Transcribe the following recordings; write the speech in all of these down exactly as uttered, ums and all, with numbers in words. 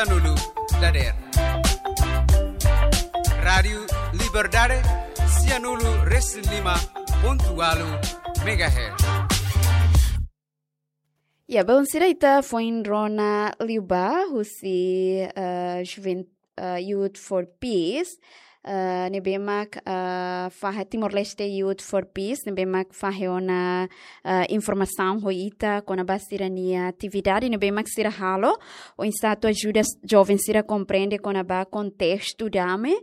sianulu dadeer. Rádiu Liberdade, sianulu resin lima pontu ualu megahertz. Ya, belun sira, ita foin rona liubá husi, eh, Juven-, eh, Youth for Peace, eh, ne'ebé mak, eh, fahe Timor-Leste Youth for Peace, ne'ebé mak fahe ona, eh, informasaun ho ita kona-ba sira-nia atividade ne'ebé mak sira halo, oinsá atu ajuda joven sira komprende kona-ba kontestu dame,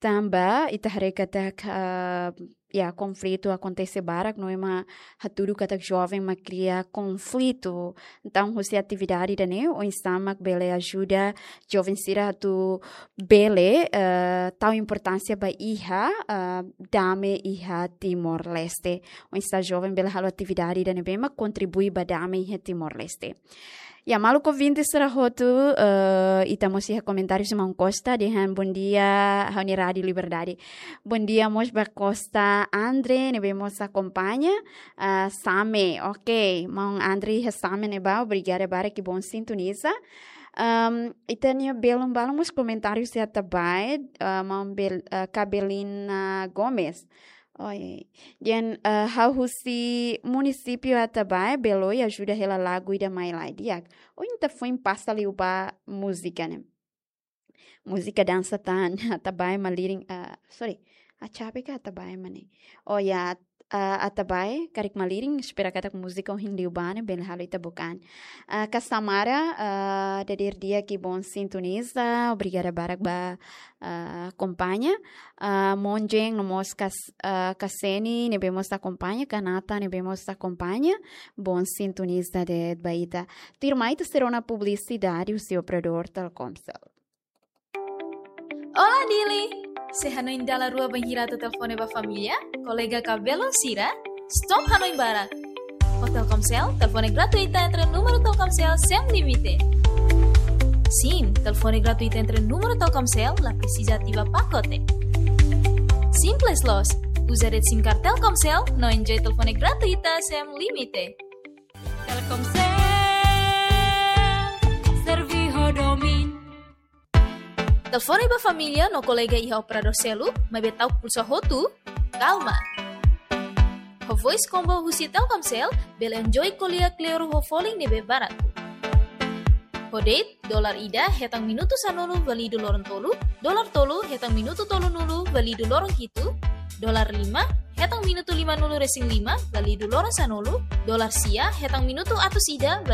tanba ita haree katak, eh, ya, konflitu akontese barak, no ema hatudu katak joven mak kria konflitu. Entaun, husi atividade ida-ne'e, oinsá mak bele ajuda joven sira atu bele, eh, tau importánsia ba iha, eh, dame iha Timor-Leste. Oinsá joven bele halo atividade ida ne'ebé mak kontribui ba dame iha Timor-Leste. Ya, maluk ouvinte sira hotu, eh, ita mós iha komentáriu husi maun Costa, dehan bondia, ha'u-nia Rádiu Liberdade. Bondia mós ba Costa André, ne'ebé mós akompaña, ah, Same. Ok, maun André iha Same ne'ebá, obrigada barak, que bom sintoniza. Ahm, ita-nia belun balun mós komentáriu husi Atabae, ah, maun Bel-, ah, Cabelina Gomes. Oi, dehan, eh, ha'u husi munisípiu Atabae, bele ajuda hela lagu ida mai lai, di'ak. Ohin ita foin pasa liubá múzika ne'e. Múzika dansa tan, Atabae malirin, eh, sorry, Achabe ka Atabae mak ne'e. Oh ya, eh, Atabae, karik malirin, espera katak múzika ohin liubá ne'e bele halo ita bukaan. Ah, Casamara, ah, dadeer di'ak, que bom sintoniza, obrigada barak ba, ah, akompaña. Ah, Monjen, no mós Cas-, ah, Kaseni, ne'ebé mós akompaña, Kanata, ne'ebé mós akompaña, bom sintoniza de'it ba ita. Tuirmai ita sei rona publisidade husi operadór Telkomcel. Olá, Dili! Sei hanoin dala rua bainhira atu telefone ba família, kolega ka belun sira? Stop hanoin barak! Ho Telkomcel, telefone gratuita entre númeru Telkomcel sem limite. Sim, telefone gratuita entre númeru Telkomcel, la presiza ativa pakote. Simples loos, uza de'it sim card Telkomcel, no enjoy telefone gratuita sem limite. Telkomcel, servi ho domin. Telefone ba família no kolega iha operadór seluk, maibé ta'uk pulsa hotu, kalma. Ho voice combo husi Telkomcel, bele enjoy ko'alia kleur ho folin ne'ebé baratu. Ho de'it, dolar ida hetan minutu sanulu válidu loron tolu, dolar tolu hetan minutu tolunulu válidu loron hitu, dolar lima hetan minutu limanulu resin lima válidu loron sanulu, dolar sia hetan minutu atus ida